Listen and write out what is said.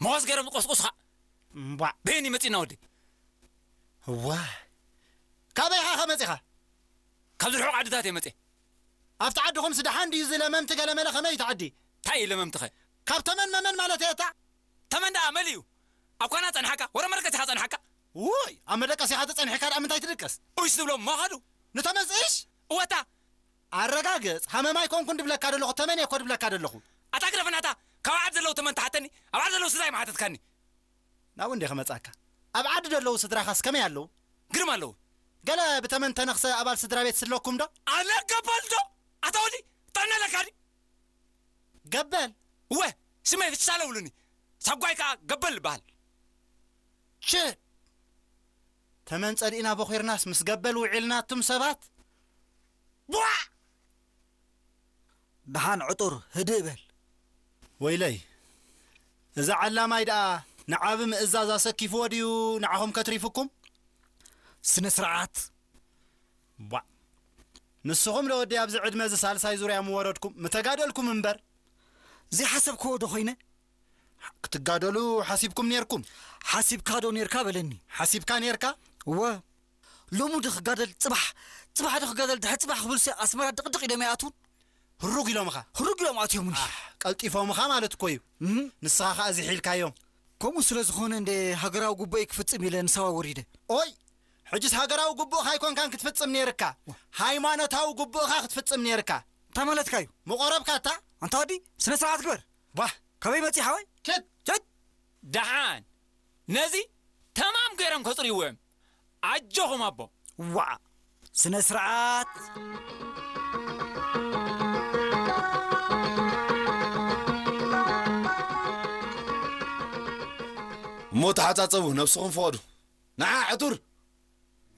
ቦስ ገይሮም ዝቆስቁስኻ። እምቧዕ። በየን ይመጺና ወዲ? እዋ። ካበይ ኢኻ ከመጺኻ? ካብዚ ርሑቕ ዓድታት እየ መጽየ። ኣብቲ ዓድኹም ስደሓን ድዩ እዚ ለመምቲ ገለመለ ከመይ እዩ እቲ ዓዲ? እንታይ እዩ ለመምትኸ? ካብ ተመን መመን ማለት እየ እታ። ተመን ደኣ መሊ እዩ? ኣብ ኳና ጸንሓካ? ወረ መረቀሲኻ ጸንሓካ? ውይ፣ ኣብ መደቀሲኻ ተጸንሒካ ደኣ ምንታይ ትድቅስ? ኡሽ ትብሎ እሞ ኸዱ። ንተመን ጽእሽ? እወታ። ኣረጋግጽ፣ ሃመማ ኣይኮንኩን ድብለካ ደለኹ፣ ተመን እየ እኮ ድብለካ ደለኹ። ኣታ ግደፈናታ፣ ካብ ዓድ ዘለዉ ተመን ትሓተኒ፣ ኣብ ዓድ ዘለዉ ስድራይ ምሓተትካኒ። ናብኡ እንዴ ከመጻካ? ኣብ ዓዲ ዘለዉ ስድራኻስ ከመይ ኣለዉ? ግርም ኣለዉ። ገለ ብተመን ተነኽሰ ኣባል ስድራ ቤት ስለኩም ዶ? ኣነ ገበል ዶ? ኣታ ወዲ፣ ጥዕና ኣለካ ድዩ? ገበል? እወ፣ ሽመይ ፍሻለ ውሉኒ። ሳጓይ ከኣ ገበል ይበሃል። ች! ተመን ጸሊእና ቦኺርናስ ምስ ገበል ውዒልና ኣቱም ሰባት? ቧዕ! ደሓን ዕጡር፣ ህድእ በል። ወይለይ፣ እዚ ዓላማይ ደኣ ንዓቢ ምእዛዝ ኣሰኪፍዎ ድዩ ንዓኹም ከትሪፍኩም? ስነ ስርዓት። ቧዕ! ንስኹም ለወዲ ኣብዚ ዕድመ እዚ ሳልሳይ ዙርያ ምወረድኩም፣ ምተጋደልኩም እምበር። ዘይሓሰብክዎ ዶ ኾይነ? ክትጋደሉ ሓሲብኩም ኔርኩም? ሓሲብካ ዶ ኔርካ በለኒ። ሓሲብካ ኔርካ? እወ። ሎሚ ዶ ክጋደል፣ ጽባሕ፣ ጽባሕ ዶ ክጋደል፣ ድሕሪ ጽባሕ ክብልሲ ኣስመራ ድቕድቕ ኢሎም ይኣትዉን? ህሩግ ኢሎምኻ? ህሩግ ኢሎም ኣትዮምኒ። ኣሕ፣ ቀልጢፎምኻ ማለት እኮ እዩ። እም? ንስኻ ኸኣ ዝሒልካዮም። ከምኡ ስለ ዝኾነ እንደ ሃገራዊ ጉቦይ ክፍጽም ኢለ ንሳዋ ወሪደ። ኦይ፣ ሕጅስ ሃገራዊ ጉቡእኻ ኣይኮንካን ክትፍጽም ኔርካ። ሃይማኖታዊ ጉቡእኻ ክትፍጽም ኔርካ። እንታይ ማለትካ እዩ? ምቆረብካ እታ? ኣንታ ወዲ፣ ስነ ስርዓት ግበር። ቧህ! ካበይ መጺእ ሓወይ? ችት! ችት! ደሓን፣ ነዚ ተማም ገይሮም ከጽርይዎ እዮም። ኣጆኹም ኣቦ። ዋዕ! ስነ ስርዓት! እሞ ተሓጻጸቡ፣ ነብስኹም ፍቐዱ። ንዓ፣ ዕቱር!